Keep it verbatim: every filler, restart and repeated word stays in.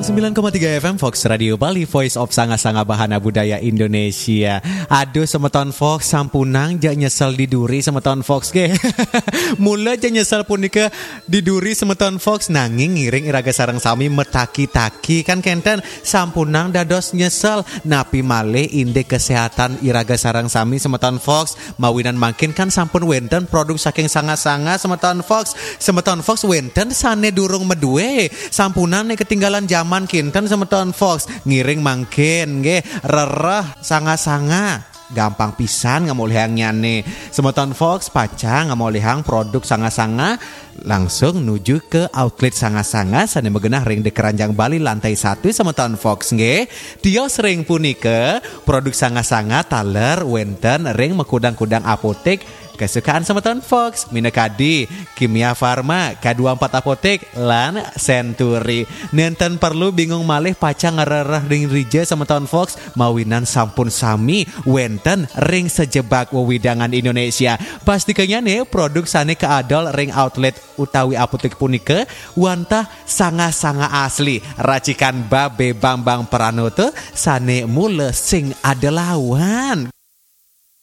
Sembilan koma tiga F M Fox Radio Bali, Voice of Sanga-Sanga Bahana Budaya Indonesia. Aduh, semeton Fox, sampunang ja nyesel di duri, semeton Fox, nggih. Mula ja nyesel punika di duri, semeton Fox, nanging ngiring iraga sareng sami metaki-taki, kan kenten, sampunang dados nyesel, napi malih indik kesehatan iraga sareng sami, semeton Fox. Mawinan mangkin kan sampun wenten produk saking Sanga-Sanga, semeton Fox. Semeton Fox, wenten sane durung madue, sampunang nek ketinggalan zaman kinten, semeton Fox. Ngiring mangkin nggih, rereh Sanga-Sanga. Gampang pisan ngamolihangnyane. Semeton Fox, pacang ngamolihang produk Sanga-Sanga, langsung nuju ke outlet Sanga-Sanga sane magenah ring di Keranjang Bali, lantai satu, semeton Fox, nggih. Tios ring punika, produk Sanga-Sanga taler wenten ring makudang-kudang apotek kesukaan semeton Fox, minakadi Kimia Farma, K dua empat Apotek, lan Century. Nenten perlu bingung malih pacang ngrereh ring dija, semeton Fox, mawinan sampun sami wenten ring sajebag wewidangan Indonesia. Pastikanyane produk sane kaadol ring outlet utawi apotek punika wantah Sanga-Sanga asli, racikan Babe Bambang Pranoto, sane mula sing ada lawan.